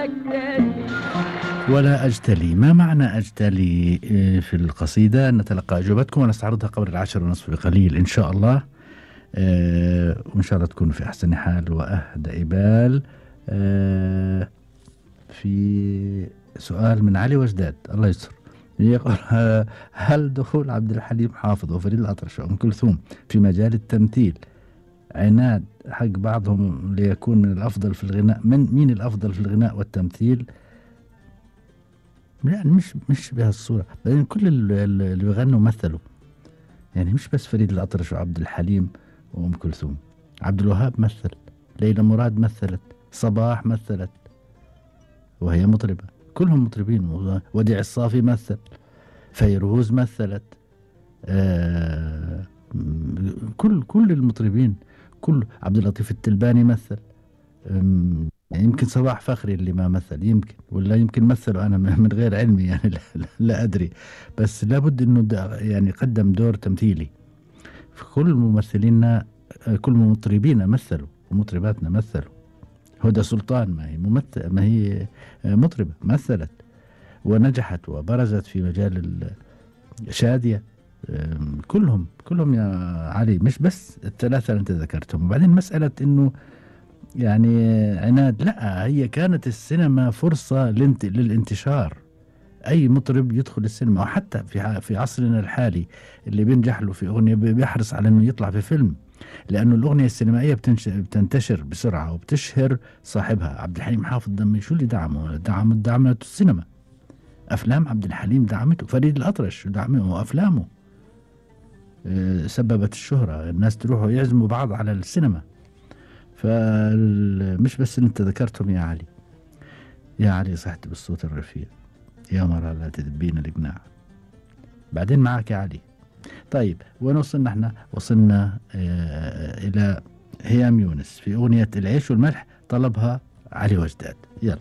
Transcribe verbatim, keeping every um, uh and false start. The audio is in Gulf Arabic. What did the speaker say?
أجتلي. ولا أجتلي، ما معنى أجتلي في القصيدة؟ نتلقى أجوبتكم ونستعرضها قبل العاشر ونصف بقليل إن شاء الله. أه وإن شاء الله تكونوا في أحسن حال وأهدى بال. أه في سؤال من علي وجداد الله يستر، يقول هل دخول عبد الحليم حافظ وفريد الأطرش وأم كلثوم في مجال التمثيل عناد حق بعضهم ليكون من الأفضل في الغناء؟ من مين الأفضل في الغناء والتمثيل؟ يعني مش مش بهالصورة، بعدين كل اللي بيغنوا مثلوا، يعني مش بس فريد الأطرش وعبد الحليم وأم كلثوم. عبد الوهاب مثل، ليلى مراد مثلت، صباح مثلت وهي مطربة، كلهم مطربين. وديع الصافي مثل، فيروز مثلت، آه كل كل المطربين، كل عبد اللطيف التلباني مثل. يعني يمكن صباح فخري اللي ما مثل، يمكن ولا يمكن مثله أنا من غير علمي يعني لا, لا أدري، بس لابد إنه يعني قدم دور تمثيلي. كل ممثلينا كل مطربينا مثلوا ومطرباتنا مثلوا. هدى سلطان ما هي ممثل، ما هي مطربة مثلت ونجحت وبرزت في مجال الشادية. كلهم كلهم يا علي، مش بس الثلاثة اللي أنت ذكرتهم. وبعدين مسألة إنه يعني عناد، لا، هي كانت السينما فرصة للانتشار. أي مطرب يدخل السينما، وحتى في في عصرنا الحالي اللي بينجح له في أغنية بيحرص على إنه يطلع في فيلم، لأنه الأغنية السينمائية بتنتشر بسرعة وبتشهر صاحبها. عبد الحليم حافظ دمي شو اللي دعمه؟ دعم دعمته السينما، أفلام عبد الحليم دعمته، فريد الأطرش دعمه وأفلامه سببت الشهرة، الناس تروحوا يعزموا بعض على السينما. فمش بس اللي انت ذكرتهم يا علي. يا علي صحت بالصوت الرفيع، يا مرة لا تدبين الإقناع. بعدين معك يا علي. طيب وين وصلنا احنا؟ وصلنا اه إلى هيام يونس في أغنية العيش والملح، طلبها علي وجداد. يلا.